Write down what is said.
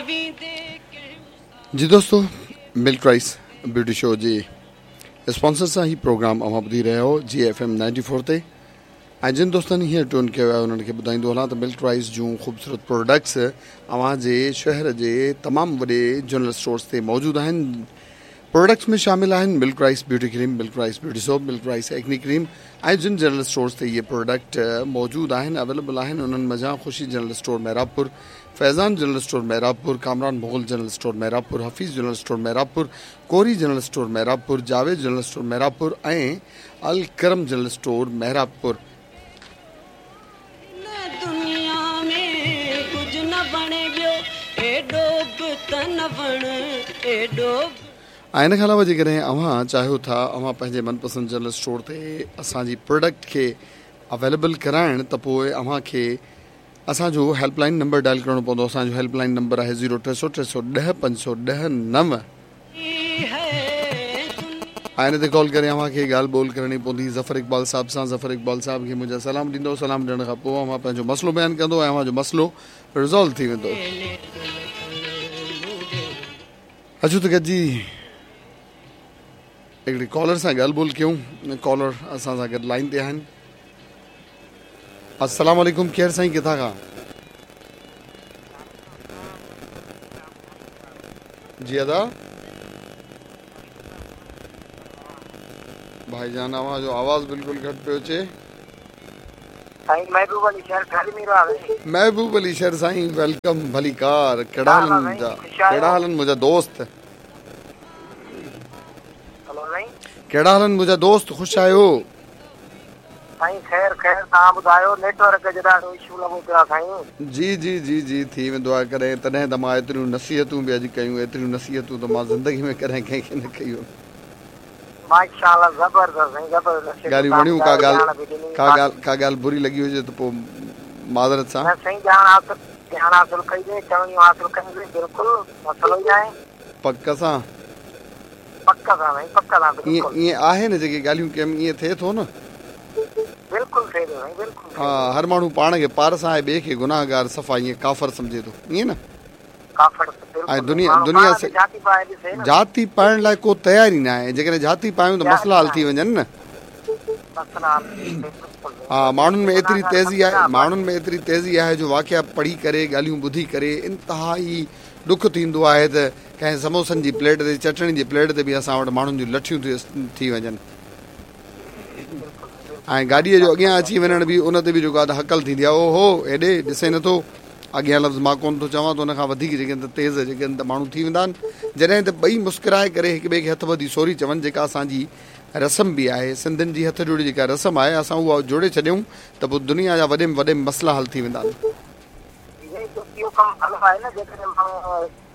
جي دوستو ملڪ rice beauty show جي اسپانسر سان هي پروگرام اوهان ٻڌي رهيا آهيو جي ايف ايم 94 تي ۽ جن دوستن هينئر ٽيون ڪيو آهي انهن کي ٻڌائيندو هلان ته ملڪ رائس جون خوبصورت پروڊڪٽس اوهان جي شهر جي تمام وڏي جنرل اسٽورس تي موجود آهن پروڊڪٽس ۾ شامل آهن milk rice beauty cream, milk rice beauty soap, milk rice acne cream ۽ جن جنرل اسٽورز تي اهي پروڊڪٽ موجود آهن اويليبل آهن انهن منجهان Khushi general store Mehrabpur, Faizan general store Mehrabpur, Kamran Mughal general store Mehrabpur, Hafeez general store Mehrabpur, Kori general store Mehrabpur, Javed general store Mehrabpur ۽ Alkaram general store Mehrabpur. هن دنيا ۾ ڪجهه نه وڻي ٻيو ايڏو به ته نه وڻ ايڏو به. ۽ ان کان علاوه جيڪڏهن اوهان چاهيو ٿا اوهان پنهنجي من پسند جنرل اسٽور تي اسان جي پروڊڪٽ کي اويليبل ڪرائڻ ته پوء اوهان کي اسان جو هيلپ لائن نمبر ڊائل ڪرڻو پوندو اسان جو هيلپ لائن نمبر آهي زيرو ٽي سو ٽي سو ڏهه پنج سو ڏهه نو. ۽ ان تي ڪال ڪري اوهان کي ڳالهه ٻولهه ڪرڻي پوندي ظفر اقبال صاحب سان ظفر اقبال صاحب کي منهنجا سلام ڏيندو سلام ڏيڻ کان پوء اوهان پنهنجو مسئلو بيان ڪندو ۽ اوهان جو مسئلو ريزالو ٿي ويندو. اچو ته گڏجي هڪڙي ڪالر سان ڳالهه ٻولهه ڪيون ڪالر اسان سان گڏ لائين تي آهن السلام عليڪم ڪير سائين ڪٿان کان جي ادا ڀائي جان اوهان جو آواز بلڪل گهٽ پيو اچي. سائين محبوب علي شر ٺل ميرو آوي. محبوب علي شر سائين welcome ڀليڪار ڪهڙا حال آهن منهنجا ڪهڙا حال آهن منهنجا دوست. هلو سائين. ڪهڙا حال آهن منهنجا دوست خوش آهيو. سائين خير خير توهان ٻڌايو نيٽ ورڪ جو ڏاڍو اشو لڳو پيو آ سائين. جي جي جي جي ٿي ويندو آهي ڪڏهن تڏهن ته مان ايتريون نصيحتون به اڄ ڪيون ايتريون نصيحتون ته مان زندگي ۾ ڪڏهن ڪنهن کي نه ڪيون. ماشاء الله زبردست سائين زبردست نصيحتون ڳالهيون توهان وڻيون ڪا ٻڌايو ڳالهه ڄاڻ به ڏني ڪا باقي. ڳالهه ڪا ڳالهه بري لڳي هجي ته پوء معذرت سان. نه سائين ڄاڻ حاصل ڄاڻ حاصل ڪئي سين چوڻيون حاصل ڪيون سين بلڪل مسئلو ئي ناهي. پڪ سان. پڪ سان سائين پڪ سان ائين بلڪل. ائين آهي نه جيڪي ڳالهيون ڪيم ائين ٿئي ٿو نه. بلڪل ٿئي ٿو سائين بلڪل ٿئي ها ٿو. هر ماڻهو پاڻ کي پارس آهي ٻئي کي گناهگار صفا ائين ڪافر سمجهي ٿو ائين نه. ڪافر ۽ بلڪل دنيا ماڻهو دنيا پاڻ تي جهاتي پائي ڏسي نه. جهاتي پائڻ لاء ڪو تيار ئي ناهي جيڪڏهن جهاتي پايون ته تيار مسئلا ئي حل ٿي ناهي. وڃن نه. مسئلا حل ٿي وڃن بلڪل ها سائين ماڻهن ۾ بلڪل ايتري گناهگار تيزي سمجهي آهي نه ماڻهن ۾ ايتري تيزي آهي جو واقعا پڙهي ڪري ڳالهيون ٻڌي ڪري انتهائي ڏک ٿيندو آهي ته ڪنهن سموسن جي پليٽ تي چٽڻي جي پليٽ تي به اسان وٽ ماڻهن جون لٺيون ٿي وڃن ۽ گاڏيء جو اڳيان اچي وڃڻ به ان تي به جيڪو آهي ته هڪل ٿيندي آهي او هو هيڏي ڏسين نٿو اڳيان لفظ مان ڪونه ٿو چوان ته ان کان وڌيڪ جيڪي آهن ته تيز جيڪي آهن ته ماڻهو ٿي ويندا آهن جڏهن ته ٻئي مسڪرائي ڪري هڪ ٻئي کي هٿ ٻڌي سوري چون جيڪا اسان جي رسم به آهي سنڌين جي هٿ جوڙي جيڪا رسم آهي اسان اها جوڙي ڇڏيون ته پوء دنيا جا وڏي ۾ وڏي مسئلا حل ٿي ويندا آهن. اهو ڪم ڀلو آهي نه جيڪڏهن ماڻهو.